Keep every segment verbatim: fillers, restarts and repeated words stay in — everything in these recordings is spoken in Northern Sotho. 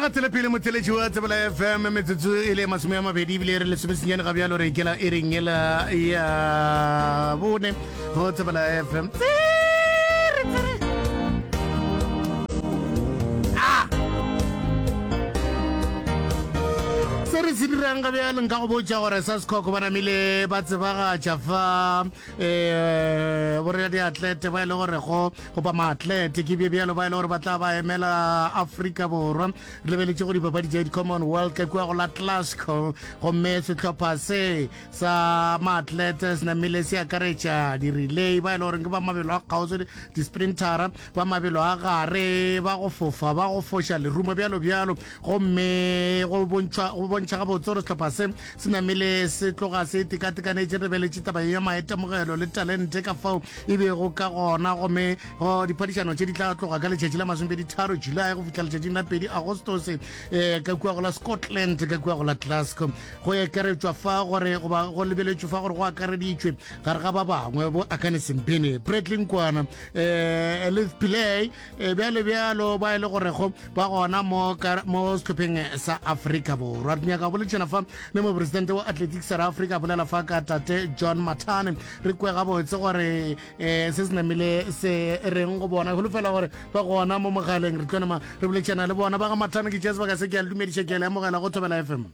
gatele pele motheletši wa Tsebela F M, metsotso e le masome a mabedi ebile re lesomesenyane ga bjalo, re ikela e reng ela ya bone go Tsebela F M. Tsere, tsere. Ah! Se re se dirang ga bjalo, nka go botša gore sa sekhoko ba namile ba tsebagatša fa um borela diatlete ba e le gore go goba maatlete ke bje bjalo ba e le gore ba tla ba emela Afrika Borwa. Re lebeletše go dipapadi tša di-Commonwealth ka kua go la Glasgow, gomme sehlopha se sa maatlete se namile se akaretša di-relay ba e le goreng ke ba mabelo a kgauswi, di-sprintera ba mabelo a gare, ba go fofa, ba go foša lerumo, bjalo bjalo. Gomme go bontšha go bontšha gabotse gore sehlopha se se namile se tloga se tekatekanetše. Re beletše taba ya maitemogelo le talente ka fao e bego ka gona, gomme go diphadišano tše di tla tloga ka letšatši la masomepedi tharo July go fihla letšatšing la pedi Agostose um ka kua go la Scotland, ka kua go la Glasgow. Go ekeretšwa fa gore goba go lebeletšwe fa gore go akareditšwe gare ga ba bangwe bo Akani Simbine, Bradley Nkwana, um Elith Pillay, eh, bjalo bjalo, ba e le gorego ba gona mo ka- mo sehlopheng sa Afrika Borwa. Re nyaka go boletšana fa le mopresidente wa Athletics South Africa, bolela fa ka tate John Mathane, re kwe gabotse gore um se se namile se reng go bona. Holofela gore ba gona mo mogaleng, re tlo nama re boletšana le bona. Ba ga Mathane, ke tšea sebaka se ke a le dumediša, ke a le amogela go Thobela F M.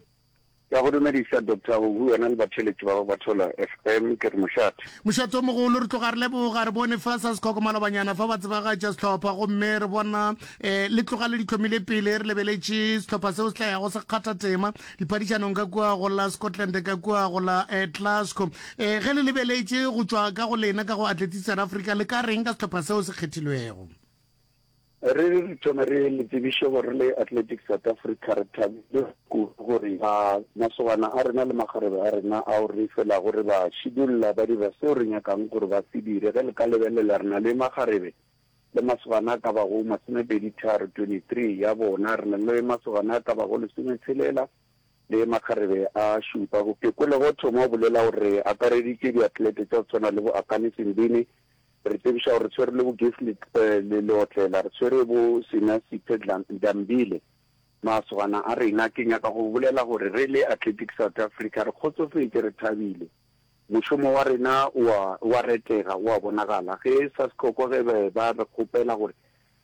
Ke a go dumediša, Doctor Huhu, wena le batheeletši ba ba Thola F M, ke re mošate. Mošate o mogolo, re tloga re leboga. Re bone fa sa sekhoko malobanyana fa ba tsebagatša sehlopha, gomme re bona um le tloga le di tlhomile pele. Re lebeletše sehlopha seo se tla yago se kgatha tema diphadišanong ka kua go la Scotland, ka kua go la um Glasgow. um ge le lebeletše go tšwa ka go lena ka go Athletics South Africa, le ka reng ka sehlopha seo se kgethilwego? Re re thome re le tsebiše gore le Athletics South Africa re thabile kudu gore ba masogana a rena le makgarebe a rena ao re felago re ba šidulla ba dira seo re nyakang gore ba se dire. Ge le ka lebelela, re na le makgarebe le masogana a ka bago masomepedi tharo, twenty-three ya bona. Re na le masogana a ka bago lesometshelela le makgarebe a šupa. Ke kwele go thoma o bolela gore re akareditše diatlete tša go tshwana le bo Akani Simbine. Re tsebiša gore re tshwere le bo Gift le Leotlela, re tshwere bo Sinesiphe Dambile, masogana a rena. Ke nyaka go bolela gore re le Athletics South Africa re kgotsofetše, re thabile. Mošomo wa rena o a wa retega, o a bonagala. Ge sa sekhoko ge be ba re kgopela gore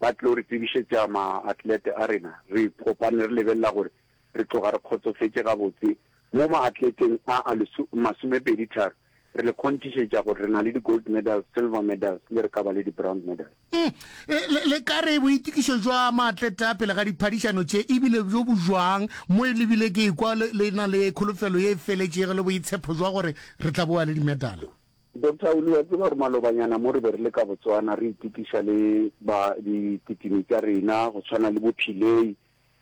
ba tlo re tsebišetša maatlete a rena, re kopane re lebelela gore re tloga re kgotsofetše gabotse mo maatleteng a a masomepedi tharo. Re le kgonthišetša gore re na le di-gold medals, silver medals, le re ka ba le di-bronze medals. Mm. Le, le ka re boitokišo jwa maatlete a pele ga diphadišano tše ebile bjo bo jwang mo e lebile ke ekwa le, le na le kholofelo ye e feletšego le boitshepo jwa gore re tla boa le dimedala? Doctor Uli, wa tseba gore malobanyana mo re be re le ka Botswana re itokiša le ba dikitimi tša rena go tshwana le bo Pillay,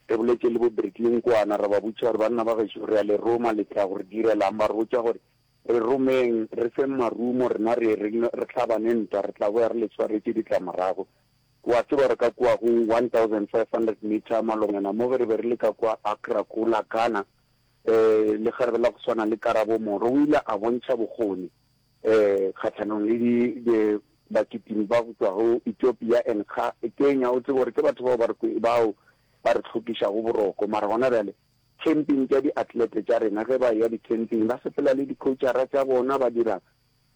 re boletše le bo Bradley Nkwana, ra ba botša gore banna ba gešo re a le roma, le tla go re direlang? Ba re botša gore re romeng, re feng marumo, rena re re re hlabane ntwa, re tla boya re le swaretše ditlamorago. Wa tseba gore ka kua go one thousand five hundred meter malobanyana mo ge re be re le ka kua Accra ko la Ghana, um lekgarebe la go swana le Karabo Moro o ile a bontšha bokgoni um kgahlanong le di bakitimi ba go tšwa go Ethiopia and Kenya. O tsebe gore ke batho bao ba re bao ba re hlokišago boroko, mara gona bjale camping tša di-athlete tša rena, ge ba ya di-camping ba sepela le di-coachara tša bona, ba dira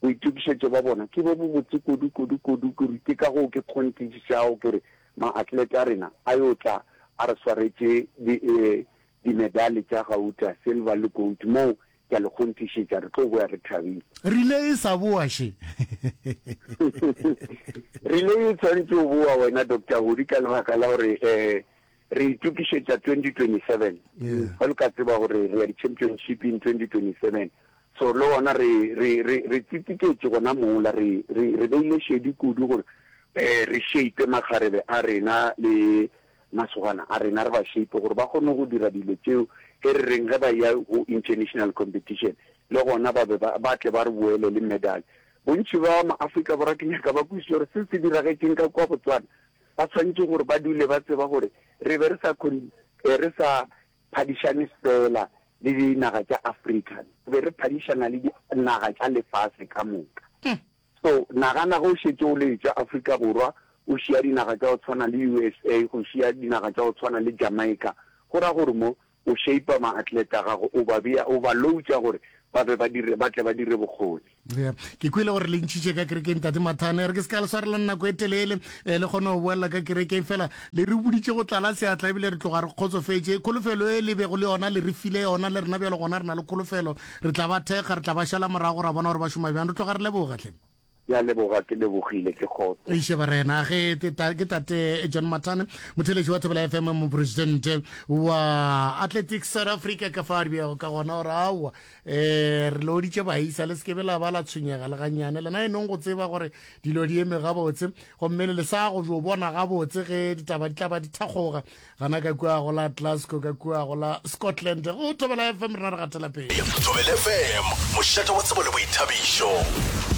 boitokišetšo ba bona ke bo bobotse kudu kudu kudu kudu. Ke ka goo ke kgonthišišago ke re maatlete a rena a yo tla a re swaretše dimedale tša gauta, silver le gold. Moo ke a le kgonthišetša re tlo boya re thabile. Rile e sa boa še. Rile e tshwanetse go boa wena, Doctor Hodi, ka lebaka la gore um re itokišetša twenty twenty-seven. Ge le ka tseba gore re ya di-championship in twenty twenty-seven, so le gona re re re re tsitsiketše gona mola re re re beile šedi kudu gore um re shape makgarebe a rena le masogana a rena, re ba shape gore ba kgone go dira dilo tšeo e re reng ge ba ya go international competition le gona ba be ba tle ba re boele le medal. Bontši ba maAfrika Borwa ke nyaka ba kwešiše gore se se diragetšeng ka kua Botswana, ba tshwanetse gore ba dule ba tseba gore re be re sa re sa phadišane fela le dinaga tša Afrika, re be re phadišana le dinaga tša lefase ka moka. So nagana ge o šetše o le tša Afrika Borwa, o šia dinaga tša go tshwana le U S A, go šia dinaga tša go tshwana le Jamaica, Go ra gore mo o shape-a maatlete a gago, o ba bea, o ba loutša gore ba be ba dire, ba tle ba dire bokgoni. Yeah. Ke kwele gore le ntšhitše ka kerekeng Tate Mathane. Re ke se ka le swarelang nako e telele, eh, le kgone go boelela ka kerekeng fela le re boditše go tlala seatla ebile re tloga re kgotsofetše. Kholofelo e le bego le yona le re file yona le rena bjalo gona re na le kholofelo. Re tla ba thekga, re tla ba šala morago ra bona gore ba šoma bjang. Re tloga re leboga hle. Ke a leboga, ke lebogile, ke kgotso. Eiše barena, ge te ta, ke tate John Mathane, motheeletši wa Thobela F M, mopresidente wa Athletics South Africa, ka fa a di beago ka gona gore aowa, eh, re looditše baisa, le se ke be la ba la tshwenyega le gannyane. Lena e nong go tseba gore dilo di eme gabotse, gomme le le sa go jo bona gabotse ge ditaba di tla ba di thakgoga gana ka kua go la Glasgow, ka kua go la Scotland. Go Thobela F M rena re gatela pele. Thobela F M, mošate wa tsebo le boithabišo.